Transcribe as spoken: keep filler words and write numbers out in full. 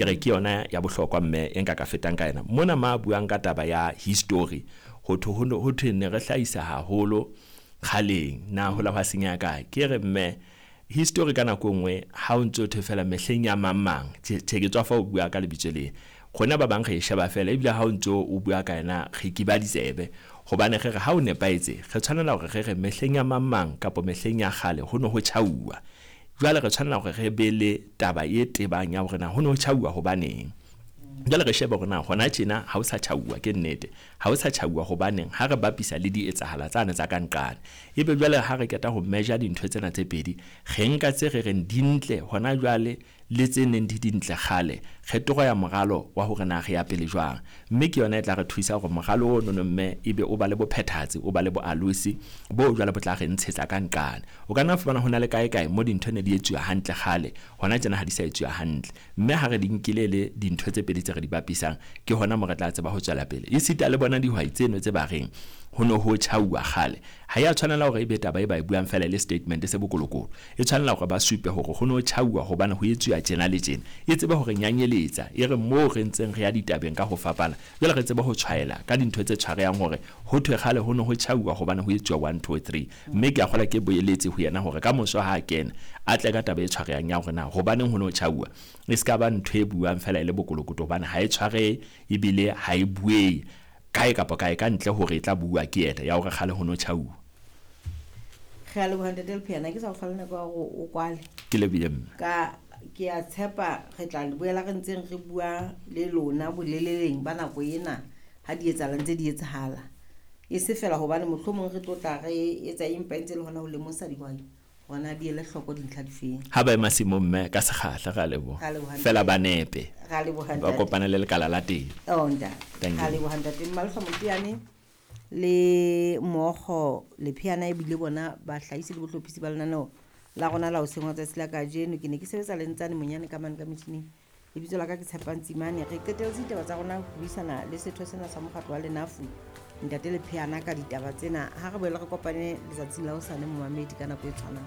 Ke re ke yona ya bohlokwa mme e nka ka fetang ka yena. Mona ma buang ka taba ya history, ho thwe ho no ho thwe ne re hlahisa haholo kgaleng, na hola hwa senyeha kae? Ke re mme history ka nako e nngwe ha o ntso thwe fela mehleng ya mang mang, tjhe tjhe ke tswa fa o bua ka lebitso le. Rona ba bang re e sheba fela ebile ha o ntso o bua ka yena re kiba ditsebe. Hobane re re ha o nepahetse, re tshwanela hore re re mehleng ya mang mang kapa mehleng ya kgale ho no ho tjhauwa. Jwale re tshwanela hore re be le taba e tebang ya hore na ho no ho tjhauwa hobaneng. Jwale re shebe hore na hona tjena ha o sa tjhauwa ke nnete. Ha o sa tjhauwa hobaneng ha re bapisa le di etsahala tsane tsa ka nqane. Ebe jwale ha re qeta ho measure dintho tsena tse pedi, re nka tse re reng di ntle hona jwale le tse neng di dintle kgale, re toroya moralo wa hore na re ya pele jwang. Mme ke yona e tla re thusa hore moralo ono no mme ebe o ba le bophethahatsi, o ba le boalosi bo jwale bo tla re ntshetsa ka nqane. O ka nna fumana ho na le kae kae mo dintho ne di etsuwa hantle kgale, hona tjena ha di sa etsuwa hantle. Mme ha re di nkile le dintho tse pedi tse re di bapisang, ke hona mo re tla tseba ho tswela pele. Esita le bona dihwai tseno tse ba reng ho no ho tjhauwa kgale, ha ya tshwanela hore ebe taba e ba e buang fela le statement se bokolokolo. E tshwanela hore ba supe hore ho no tjhauwa hobane ho etsuwa tjena le tjena. E tsebe hore nyanyeletsa, e re moo re ntseng re ya ditabeng ka ho fapana, jwale re tsebe ho tshwaela ka dintho tse tshwarehang hore ho thwe kgale ho no ho tjhauwa hobane ho etsuwa one, two, three. Mme ke a kgolwa ke boeletse ho yena hore ka moso ha a kena, a tle ka taba e tshwarehang ya hore na hobaneng ho no tjhauwa. E ska ba ntho e buang fela e le bokolokoto hobane ha e tshwarehe ebile ha e buehe kae kapa kae ka ntle hore e tla bua ke yena ya hore kgale ho no tjhauwa. Re a leboha ntate Lepheana, ke sa o fa le nako ya hore o kwale. Ke lebohile mme. Ka ke a tshepa re tla le boela re ntseng re bua le lona boleleleng ba nako ena ha di etsahala ntse di etsahala. E se fela hobane mohlomong re tlo tla re etsa empa e ntse le hona ho lemosa dihwai hore na di ele hloko dintlha difeng. Ha ba ema masimong mme ka sekgahla, re a leboha. Re a leboha ntate. Fela ba nepe. Re a leboha Ba ntate. kopane le lekala la teng. Oh, ntate. Thank Re a you. leboha ntate. Mmalehla Moteane le Mookgo Lepheana ebile bona bahlahisi le bohlophisi ba lenaneo la rona la hoseng wa tsatsi la kajeno. Ke ne ke sebetsa le Ntsane Monyane ka mane ka metjhining. Lebitso la ka ke Tshepang Tsimane. Re qetelletse ditaba tsa rona ho buisana le setho sena sa mokgatlo wa Lenafu, ntate Lepheana, ka ditaba tsena. Ha re boele re kopane letsatsing la hosane momamedi ka nako e tshwanang.